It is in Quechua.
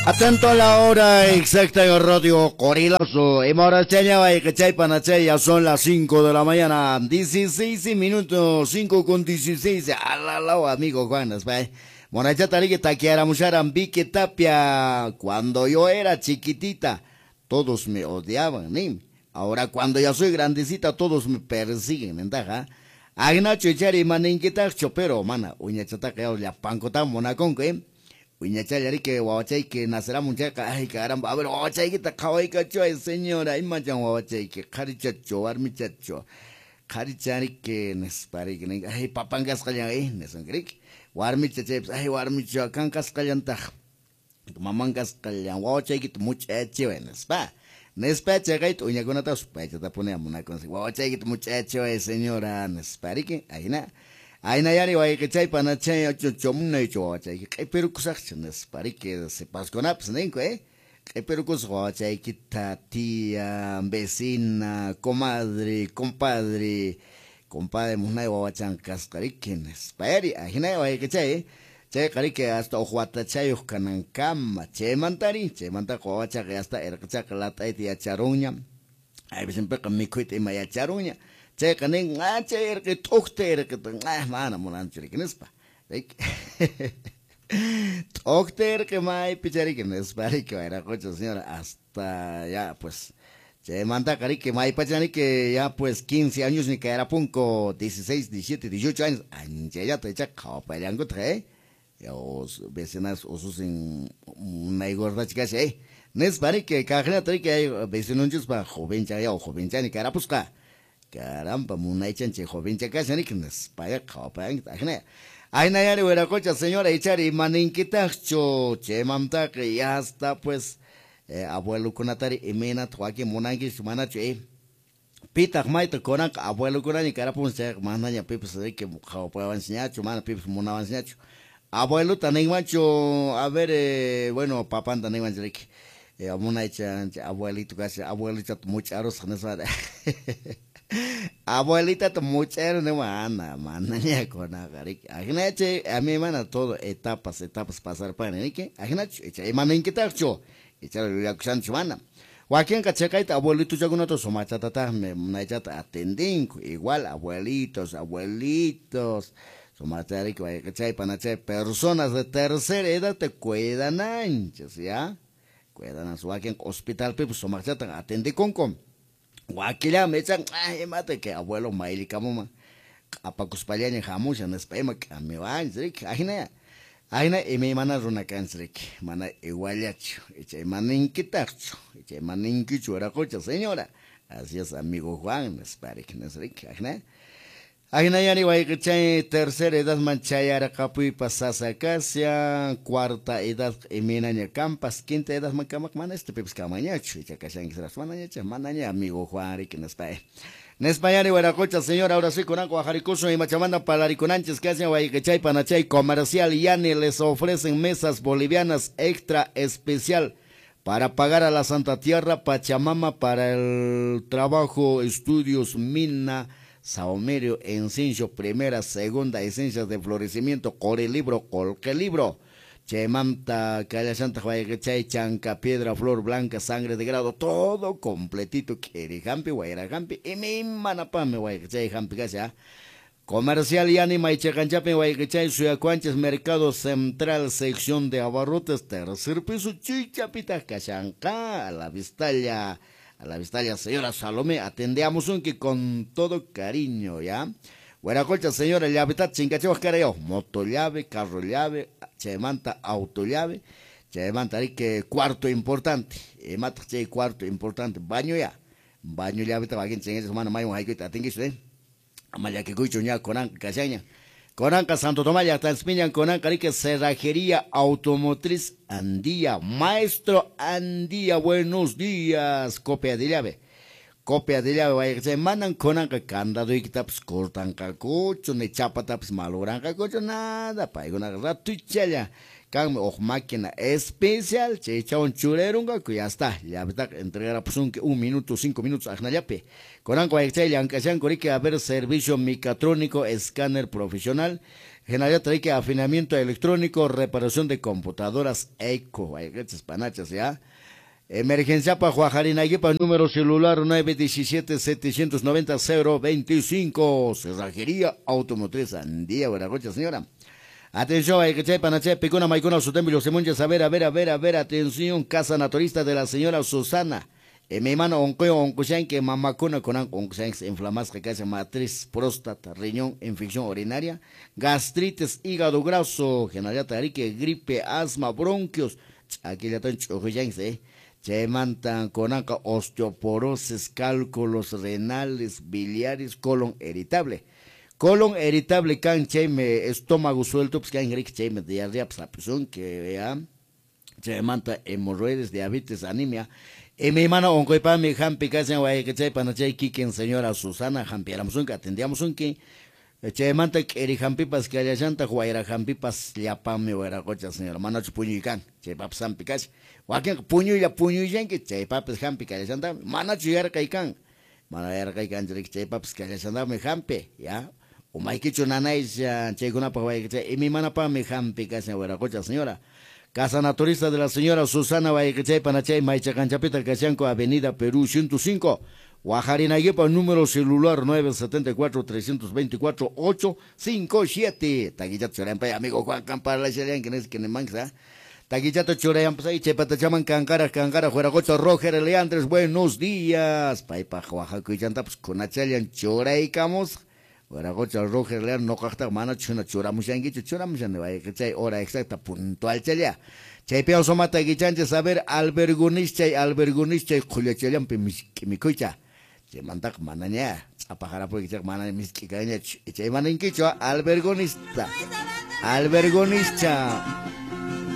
Atento a la hora exacta en Radio Qorilazo. Ya son las 5 de la mañana, 16 minutos, 5:16. Alala, amigo Juan. Vicky Tapia. Cuando yo era chiquitita, todos me odiaban, ¿ni? Ahora cuando ya soy grandecita, todos me persiguen, ¿entaja? Agnacho ichari maninkitaqchu, pero mana, uñachataqa llapankutam munakunku, ¿eh? Uñachallariki wawachayki naceramun chayqa, ay caramba, a ver wawachaykita qhawaykachuay señora, imachan wawachayki, qharichachu, warmichachu, qharichariki nispariki, ay papan kasqallan, nisunkirik, warmicha chaypas, ay warmicha kan kasqallantaq, maman kasqallan, wawachaykita much'achiway nispa. Nispa chayqayta uñakunatapas paychatapuni munakunsi, wawachaykita much'achiway señora nispariki, ayna. Ayna yari wayqichay panachay chomunaychu wawachayki q'ipirukusaqchu nispariki sipaskunapas ninku, q'ipirukusaq wawachaykita tía, vecina, comadre, compadre, compadre munay wawachan kasqariki nispayari, ajinay wayqichay, chayqa riki hasta uq watachayuq kanankama, chaymantari, chaymantaqa wawachaqa hasta irqichaqa lat'ayta yacharunña, aypisinpiqa mikhuyta ima yacharunña. Chayqa nin, chay irqi t'uqta irqita, mana munanchu riki nispa. T'uqta irqi maypicha riki nispa riki wayraqucha señora, hasta ya pues, chaymantaqa riki maypacha riki ya pues 15 años ni kayarapunku, 16, 17, 18 años, anchallata ichaqa qhawapallankutaq, ya vecinas ususin munay gordachi kasha, nispa riki kaqllata riki ay vecinonchispa jovencha ya jovenchani karapusqa. Caramba, munaychanchik jovencha kashan riki nispaya qhawapayanki ajina. Aynayari wiraqucha señora ichari imaninkitaqchu chaymantaqa ya hasta pues abuelokunatari imaynataq wakin munankichu manachu, pitaq mayta kunanqa abuelokunaña karapun chayqa manaña pipas riki qhawapayawanchikñachu, mana pipas munawanchikñachu. Abuelota ninmanchu, a ver, bueno, papanta ninmanchu riki, munaychanchik abuelito kashan, abuelitata much'arusaq nispa. Abuelita muchero no mana, manaña kunaqa riki. Ajinachi, a mi mana todo etapas, etapas pasar pan riki. Ajinachu, icha imaninkitaqchu, icha yuyakushanchu mana. Wakinqa chaqayta abuelitochakunata sumachatataqmi munaychata atendinku, igual abuelitos, abuelitos, sumachariki wayqichay panachay personas de tercera edad te cuidananchis, ya. Cuidanas wakinqa hospitalpipas sumachatan atendikunku. Wakillami ichan, ay imata que abuelo maylikamuman q'apakuspallaña hamushan nispa ima k'amiwanchis riki, ajina, ajina imaymana runa kanchis riki, mana iguallachu, icha imaninkitaqchu, icha imaninkichu wiraqucha señora, así es amigo Juan nispa riki, riki, ajina. Ajina yari wayqichay tercera edadman chayarqapuypas sasa kashan, cuarta edad imaynaña kampas, quinta edadman kamaq mana pipas kamañachu, icha kashankisraqchu manañacha, manaña amigo Juan riki nispa. Nispa yari wiraqucha señora, ahora sí kunanqa wajarikusun imachamanta palarikunanchis kashan wayqichay panachay comercial Yani les ofrecen mesas bolivianas extra especial para pagar a la Santa Tierra Pachamama para el trabajo, estudios, mina, Saumerio, Encincho, primera, segunda, esencias de florecimiento, Corelibro, Colquelibro, Chemanta, Callachanta, Huayquechay, Chanca, Piedra, Flor Blanca, Sangre de Grado, todo completito, Querijampi, Guairajampi, y mi manapame, Huayquechay, Jampi, Cacha. Comercial Yani, Maichacanchapi, Huayquechay, Suyacuanches, Mercado Central, sección de abarrotes, tercer piso, Chichapita, Cachanca, a la vistalla. A la vistalla, señora Salomé, atendemos un que con todo cariño, ¿ya? Hueracolcha, señora, llaveta, chingachewas, carayo, moto llave, carro llave, chemanta, auto llave, chemanta, que cuarto importante, mata, che, cuarto importante, baño ya, baño llave, tabaquín, chingachewas, mano, mayo, haikuita, atinguicho, Amayaquecuicho, ña, conan, cachaña. Conanca, Santo Tomás, Tanspiñan, Conanca, Rique, Cerrajería Automotriz Andía. Maestro Andía, buenos días. Copia de llave. Copia de llave, vaya, mandan Conanca, candado y taps, cortan cacucho, ni chapa taps, maloran cacucho, nada, pa, una ratuchalla. Can o máquina especial, che, un churerunga, que ya está, ya está, entregar pues un minuto, 5 minutos, ajnayape. Conanco, a ver, servicio mecatrónico, escáner profesional, Hinallataq riki afinamiento electrónico, reparación de computadoras eco, wayqichas panachas, ya. Emergenciapaq waqharinaykipaq número celular 917 790 025. Cerrajería Automotriz Andía, Huiracocha, señora. Atención, wayqichay panachay, pikuna maykuna sutembi lluqsimunchis. A ver, a ver, a ver, a ver, atención, casa naturista de la señora Susana. Mi hermano onquywan onqushanki, mamakuna kunan onqushanki, inflamasqa kashan matriz, próstata, riñón, infección urinaria, gastritis, hígado graso, hinallataq riki gripe, asma, bronquios, ch'akillatan ch'uqushanki, Chaymanta kunanqa osteoporosis, cálculos renales, biliares, colon irritable. Colon irritable kan chaymi estómago suelto, pues kan riki chaymi diarrea pues hap'isunki, ya. Chaymanta hemorroides, diabetes, anemia. Imaymana onquypaqmi hampi kashan wayqichay panachay kikin señora Susana hampiyaramusunki, atendiamusunki. Chaymanta k'iri hampipas kallashantaq, wayra hampipas llapanmi wiraqocha señora. Manachu puñuy kan, chaypapas hampi kashan. Wakinqa puñuylla puñuyllanki, chaypapis hampi kallashantaqmi. Manachu yarqay kan, mana yarqay kanchu riki, chaypapas kallashantaqmi hampi, ya. Umaykichu nanayshan, chaykunapaq wayqichay imaymanapaqmi hampi kashan wiraqocha señora. Casa Naturista de la señora Susana wayqichay panachay maychaqanchapita kashanku Avenida Perú 105. Waqharinaykipaq número celular 974 324 857. Takichata churayanpay amigo Juan kan parlashallanki nisqa nimanki, Takichata churayanpay chaypatachaman kanqaraq kanqaraq wiraqocha Roger Leandres, buenos días. Paypaq waqhakuychantapas kunachallan churaykamusqa. Wiraqocha Roger Leandres noqaqtaq manachu hina churamushankichu, churamushani wayqichay hora exacta puntualchalla. Chaypi sumata kichanchis, a ver, albergunischay, albergunischay qhullachallanpi misk'i mikhuycha. Chaymantaqa manaña ch'apaqarapuykichayqa manaña misk'i kanñachu. Chay maninkichu albergonista. Albergonischa.